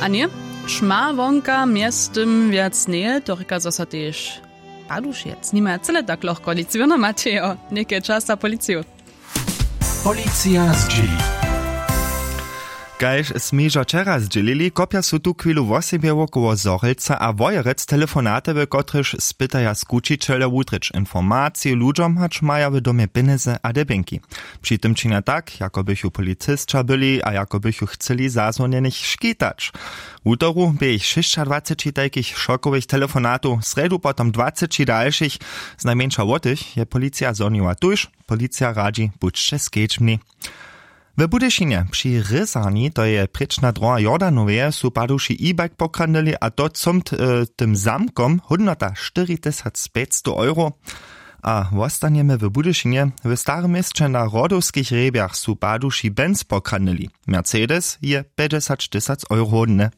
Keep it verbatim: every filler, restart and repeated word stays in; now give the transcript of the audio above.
A ně, ćma wonka mjeztym wjac njeje, to rěka zo so tež padušec nimaja cyle tak lochko nic wěrno matejo. Něke čas za policiju. Policija zdźěli. Kaž smy hižo wčera zdźělili, kopja su tu chwilu wosebje wokoło Zhorjelca a Wojerec telefonaty, w kotrychž spytaja skućićeljo wutrěć informaciju ludźom, hač maja w domje pjenjezy a debjenki. Při tym činja tak, jako bychu policisća byli a jako bychu chcyli zazwonjenych škitać. Wutoru bě jich šěsćadwaceći tajkich šokowych telefonatow, srjedu potom dwaceći dalšich. Znajmjeńša wot tych je policija zhoniła tuž. Policija radźi, budźće skedźbni. W Budyšinje při Rězarni, to je prěčna droha Jordanowje, su paduši e-bike pokradnyli, a to comt, e, tym zamkom, hódnota štyri tysac pjećstow euro. A wostanjemy w Budyšinje. W starym měsće na Hrodowskich hrjebjach su paduši Benz pokradnyli. Mercedes je pjećdźesać tysac euro hódny.